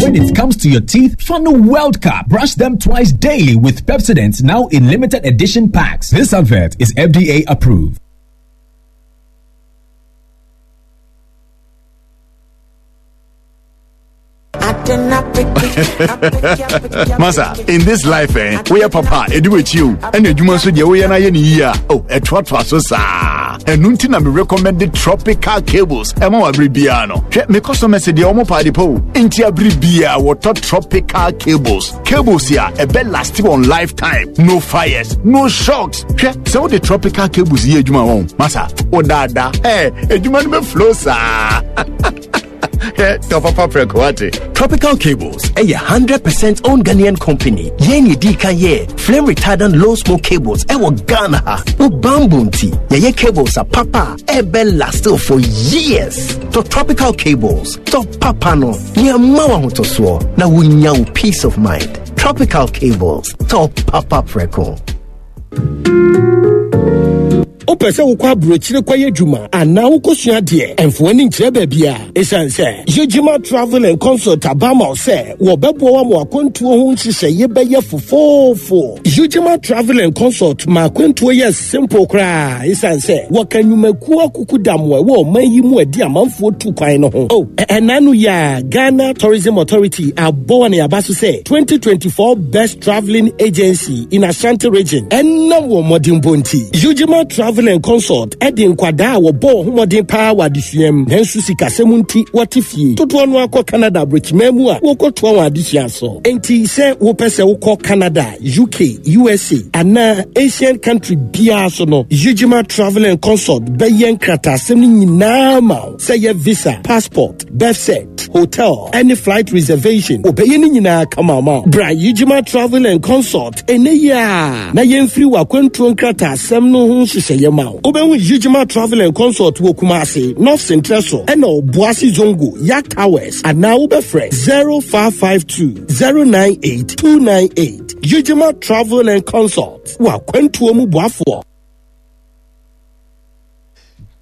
When it comes to your teeth, Funnel World Cup. Brush them twice daily with Pepsodent now in limited edition packs. This advert is FDA approved. Masa, in this life, eh, we are papa, edu with you, and you must say, we are not here. Oh, a trot so sa. And nuntin, I'm recommended tropical cables. Emo abribiano. Hwɛ, me customers deɛ ɔmo paade po. Nti abribia wɔtɔ tropical cables. Cables ya ɛbɛ last on lifetime. No fires, no shocks. Hwɛ, sɛ wode tropical cables yɛ adwuma wɔn. Masa, wo daadaa. Ɛ, adwuma no bɛ flow saa. Tɔ papa prɛko wate. Tropical Cables ɛyɛ 100% owned Ghanaian company. Yɛn yɛ di kan yɛ flame retardant low smoke cables ɛwɔ Ghana ha. Wo bamboo nti yɛyɛ cables a papa ɛbɛ last for years. Tɔ Tropical Cables, tɔ papa no, nea mma wo ahotosoɔ na wonya wo peace of mind. Tropical Cables, tɔ papa prɛko. Wopɛ sɛ wokɔ aburokyire kɔyɛ adwuma anaa wokɔsua adeɛ? Ɛmfa w'ani nkyerɛ baabiara. Ɛsiane sɛ Yejima Travel and Consult aba ama wo sɛ wɔbɛboa wo ama w'akwantuo ho nhyehyɛeɛ bɛyɛ fofoofo. Yejima Travel and Consult ma akwantuo yɛ simple koraa ɛsiane sɛ wɔka nnwumakuo akukudam a ɛwɔ ɔman yi mu a ɛde amanfoɔ tu kwan no ho. Oh, ɛna no yi a Ghana Tourism Authority abɔ wɔn aba so sɛ 2024 Best Traveling Agency in Ashanti Region ɛnam wɔn mmɔdenbɔ nti. Ujima Travel and Consult ɛde nkwadaa a wɔbɔ wɔn ho mmɔden paa wɔ adesua mu nanso sikasɛm nti wɔte fie dodoɔ no akɔ Canada aburokyiman mu a wɔkɔtoa wɔn adesua so. Enti sɛ wopɛ sɛ wokɔ Canada, UK, USA anaa Asian country biara so no, Ujima Travel and Consult bɛyɛ nkrataasɛm no nyinaa ma wo sɛ yɛ visa, passport, birth cert, hotel, ɛne flight reservation. Wɔbɛyɛ ne nyinaa kama ama wo. Bra Ujima Travel and Consult ɛnɛ yi a na yɛmfiri w'akwantuo nkrataasɛm no ho nhyehyɛeɛ ma wo. Wobɛhu Ujima Travel and Consult wɔ Kumasi, North Sentrɛ so, ɛna Obuasi Zongo, Yak Towers, anaa wobɛfrɛ 0552 098 298. Ujima Travel and Consult, w'akwantuo mu boafoɔ.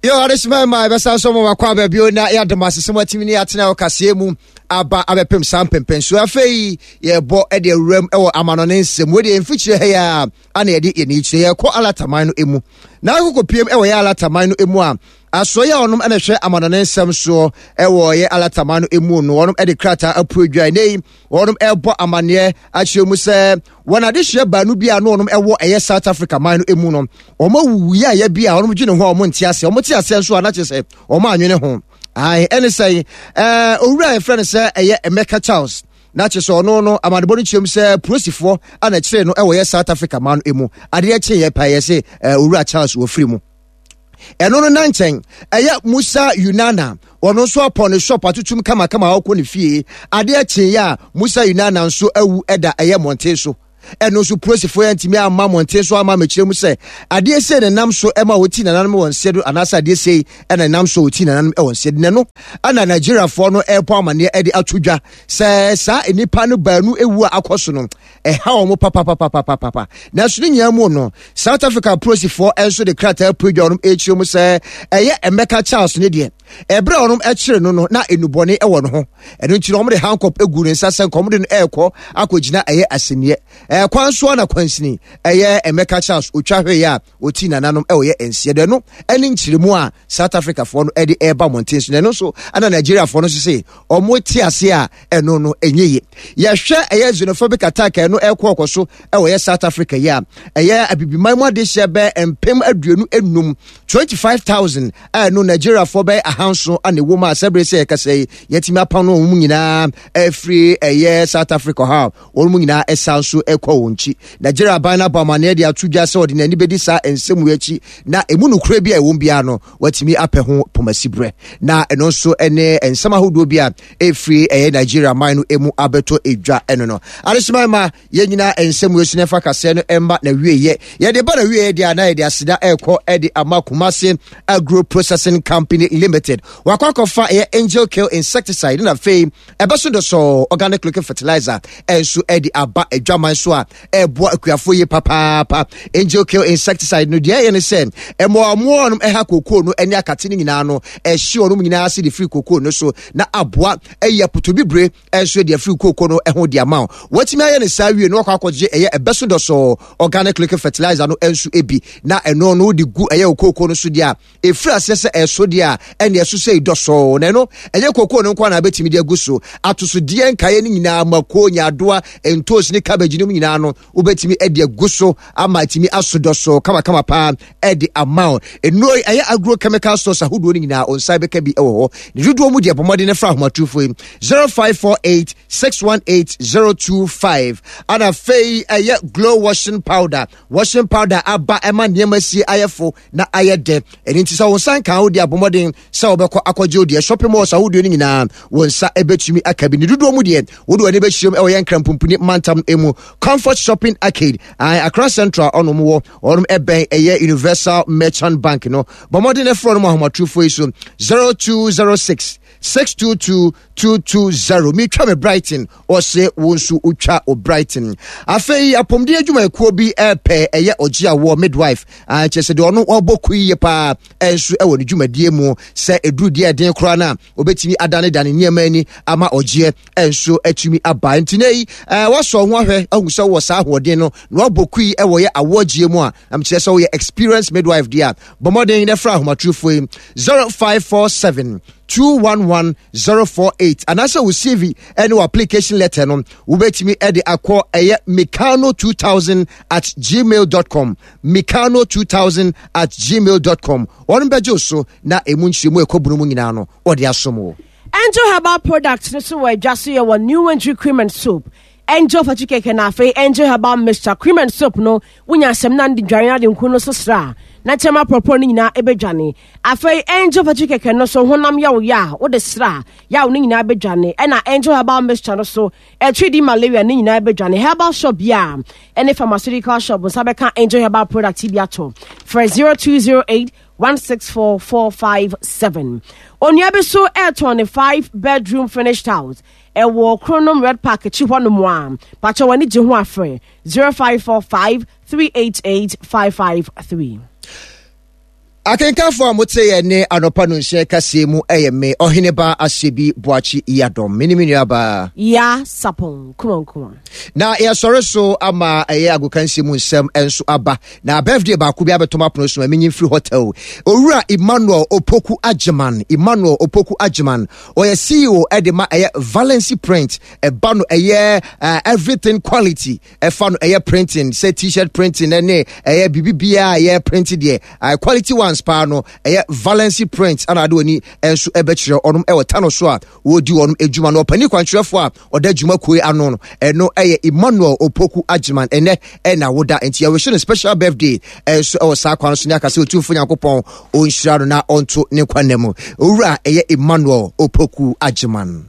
Yo, adesima ma ɛbɛsan so ma wakɔ aba bio na yɛadom asesɛm atumi ne yɛatena wɔ kaseɛ mu aba abɛpem saa mpɛmpɛnsuo. Afei yɛbɔ de awuram wɔ amanɔne nsɛm. Wei deɛ mfikyire ha yi a ana yɛde yɛn kyerɛ yɛkɔ alataman no mu. Na akokɔ piem wɔ yɛ alataman no mu a asoɔ yɛ ɔnom na ɛhwɛ amanɔne nsɛm soɔ wɔ yɛ alataman no mu no wɔnom de krataa apue dwa ɛnɛ yi wɔnom ɛrebɔ amaneɛ akyerɛ mu sɛ wɔn adehyeɛ baanu bi a na wɔnom ɛwɔ ɛyɛ South Africa man no mu no wɔn awuwu yɛ ayɛ bi a wɔnom dwene ho a wɔn nte aseɛ wɔn te aseɛ nso a na kyerɛ sɛ wɔn anwene ho ae ɛne sɛ ɛɛ owura a yɛfrɛ no sɛ ɛyɛ Emeka Charles na kyerɛ sɛ ɔno no amanebɔ no kyerɛ mu sɛ polisifoɔ ana kyerɛ no ɛwɔ yɛ South Africa man no mu adeɛ kyeeɛ paa yɛ se owura Charles wɔfiri mu ɛno no na nkyɛn ɛyɛ Musa Yunana ɔno nso apɔ ne shop atutum kamakama a ɔkɔ ne fie adeɛ kyeeɛ a Musa Yunana nso awu ɛda ɛyɛ mmɔnten so ɛno nso polisifoɔ yɛ ntumi amma mmɔnten so ama mekyerɛ mu sɛ adeɛ sei na nam so ɛma wɔti nananom wɔn nseɛ do anaasɛ adeɛ sei ɛna nam so wɔti nananom wɔn nseɛ do na ɛno ɛna Nigeriafoɔ no ɛrebɔ amaneɛ ɛde ato dwa sɛ saa nnipa no baanu ewu a akɔ so no ɛha wɔn papapapapapa nanso ne nyinaa mu no South Africa polisifoɔ nso de krataa pue dwa wɔn ɛrekyerɛ mu sɛ ɛyɛ Emeka Charles ne deɛ ɛberɛ a wɔn ɛkyere no no na enubɔne ɛwɔ ne ho ɛno nti no wɔn de handcuff egu ne nsa sɛ nka wɔn de no ɛrekɔ akɔgyina ɛyɛ asɛnniɛ ɛkwan so na kwansini ɛyɛ Emeka Charles otwa hwee a ɔti nananom ɛwɔ yɛ nseɛ do ɛno ɛne nkyerɛmu a South Africa foɔ no ɛde ɛreba mmɔnten so na ɛno nso ɛna Nigeria foɔ no nso se wɔn te ase a ɛno no ɛnyɛ yie yɛhwɛ ɛyɛ xenophobic attack ɛno ɛkɔ ɔkɔ so ɛwɔ yɛ South Africa yi a ɛyɛ abibiman mu adehyeɛ bɛɛ 25,000 25,000 a ɛno Nigeria foɔ bɛyɛ 700 ana ɛwɔ mu a sɛbere sɛ yɛkasa yi yɛtumi apam no wɔn mu nyinaa ɛfiri ɛyɛ South Africa ha wɔn mu nyinaa ɛsan so ɛkɔ wɔn akyi Nigeria aban no abɔ amaneɛ de ato dwa sɛ ɔde n'ani bɛdi saa nsɛm yi akyi na ɛmu nokorɛ bi a ɛwɔ biara no watumi apɛ ho pomasiberɛ na ɛno nso ne nsɛm ahodoɔ bi a ɛfiri ɛyɛ Nigeria man no mu abɛtɔ edwa ɛno no adehyema ma yɛn nyinaa nsɛm wei so na ɛfa kaseɛ no ɛmma na wieɛ yɛde ba na wieɛ deɛ a na yɛde aseda ɛrekɔ ɛde ama Kumasi Agro Processing Company Limited wakɔ akɔfa ɛyɛ Angel Kill Insecticide na afei ɛbɛso dɔsɔɔ organic looking fertilizer ɛnso ɛde aba adwaman so. so a ɛreboa akuafoɔ yie papaapa. Angel Kill insecticide no deɛ ɛyɛ ne sɛ mmoawammoawa nom ɛha kookoo no ne akate no nyinaa no ɛhye wɔnom nyinaa ase de firi kookoo no so na aboa ɛyi apotobibire nso de afiri kookoo no ho de ama wo. Watumi ayɛ ne saa wie no wakɔ akɔgye ɛyɛ ɛbɛso dɔsɔɔ organic liquid fertilizer no nso bi na ɛno no wode gu ɛyɛ wo kookoo no so deɛ a ɛfiri aseɛ sɛ ɛso deɛ a ɛne ɛso sɛ dɔsɔɔ na ɛno ɛnyɛ kookoo no nko na abɛtumi de agu so atosodeɛ nkaeɛ no nyinaa mako nyaadoa ntoos ne cabbage no mu nyinaa no wobɛtumi de agu so ama atumi aso dɔsɔɔ kamakama paa ɛde ama wo. Nnuro yi ɛyɛ agro chemical stores ahodoɔ no nyinaa wo nsa bɛka bi wɔ hɔ. Ne dodoɔ mu deɛ bɔ mmɔden no fra ahomatorofo yi 0548 618 025. Ana afei ɛyɛ glow washing powder. Washing powder aba ɛma nneɛma sie ayɛ fo na ayɛ dɛ. Ɛno nti sɛ wo nsa nka wo deɛ abɔ mmɔden sɛ wobɛkɔ akɔgye wo deɛ. Shopping malls ahodoɔ no nyinaa wo nsa ɛbɛtumi aka bi. Ne dodoɔ mu deɛ wode w'ani bɛkyerɛm ɛwɔ yɛn Nkran mantam mu Comfort Shopping Arcade, Accra Central ɔnom wɔ ɔnom ɛbɛn ɛyɛ Universal Merchant Bank no. Bɔ mmɔden ɛfrɛ no mu ahomatorofo yi so 0206 622 220. Metwa me Brighton, ɔse wo nso wotwa o Brighton. Afei apɔmuden adwumayɛkuo bi ɛpɛ ɛyɛ ɔgye awoɔ midwife, kyerɛ sɛ deɛ ɔno ɔbɔ kuo yie paa ɛnso ɛwɔ ne dwumadie mu sɛ ɛduru deɛ ɛden koraa no a obɛtumi adanedane nneɛma ani ama ɔgyeɛ nso atumi aba. Nti na yi wasɔ ho ahwɛ ahu sɛ wɔ saa ahoɔden no na wabɔ kui ɛwɔ yɛ awoɔgyeɛ mu a, amkyerɛ sɛ woyɛ experienced midwife deɛ a, bɔ mmɔden na fra ahomatrofoɔ yi 0547 211 048 anaasɛ wo CV ɛne wo application letter no wobɛtumi ɛde akɔ ɛyɛ mikano 2000 at gmail dot com, mikano 2000 at gmail dot com. Wɔn bɛgye wo so na emu nkyerɛmu ɛkɔ bunu mu nyinaa no wɔde asom wo. Angel Herbal Products no so wɔ adwa so yɛ wɔ New Entry Cream and Soap, Angel Fatty Cake na afei Angel Herbal Mixture Cream and Soap no wonya asɛm na de dware ade nku no so sra na kyɛm apɔpɔ no nyinaa ɛbɛdwane. Afei Angel Fatty Cake no so honam yaw yɛ a wode sra yaw no nyinaa bɛdwane. Ɛna Angel Herbal Mixture no so ɛtwe di malaria no nyinaa bɛdwane. Herbal shop bi a ɛne pharmaceutical shop nsa bɛka Angel Herbal product bi ato. Frɛ 0208 164457. Onua bi so ɛretɔn ne 5 bedroom finished house ɛwɔ Kronom Red Park akyi hɔ nom a pakyɛ w'ani gye ho afrɛ 0545 388 553. Akenkanfo a mote yɛn ne anɔpa no nhyɛn kaseɛ mu ɛyɛ me Ɔheneba Asebi Boakye Yiadom, me ne me nuabaa Ya Sapon Kumankuma. Na yɛsɔre so ama ɛyɛ agokansie mu nsɛm nso aba. Na birthday baako bi abɛtɔm apono so ma menyi mfiri hotel. Owura Emmanuel Opoku Agyeman, Emmanuel Opoku Agyeman, ɔyɛ CEO ɛde ma ɛyɛ Valency Print. Ɛba no ɛyɛ everything quality. Ɛfa no ɛyɛ printing, sɛ t-shirt printing ɛne ɛyɛ biribi biara ɛyɛ print deɛ, quality ones paa no ɛyɛ Valency Print ana ade w'ani nso ɛbɛkyerɛ ɔnom ɛwɔ Tano so a wɔdi wɔn adwuma no. Ɔpanin kwankyerɛfoɔ a ɔda adwuma kuo ano no ɛno ɛyɛ Emmanuel Opoku Agyeman. Ɛnɛ ɛna woda nti yɛwɔhyɛ no special birthday ɛnso ɛwɔ saa kwan so ne aka sɛ Otumfoɔ Nyankopɔn ɔnhyira no na ɔnto ne nkwa nna mu. Owura ɛyɛ Emmanuel Opoku Agyeman.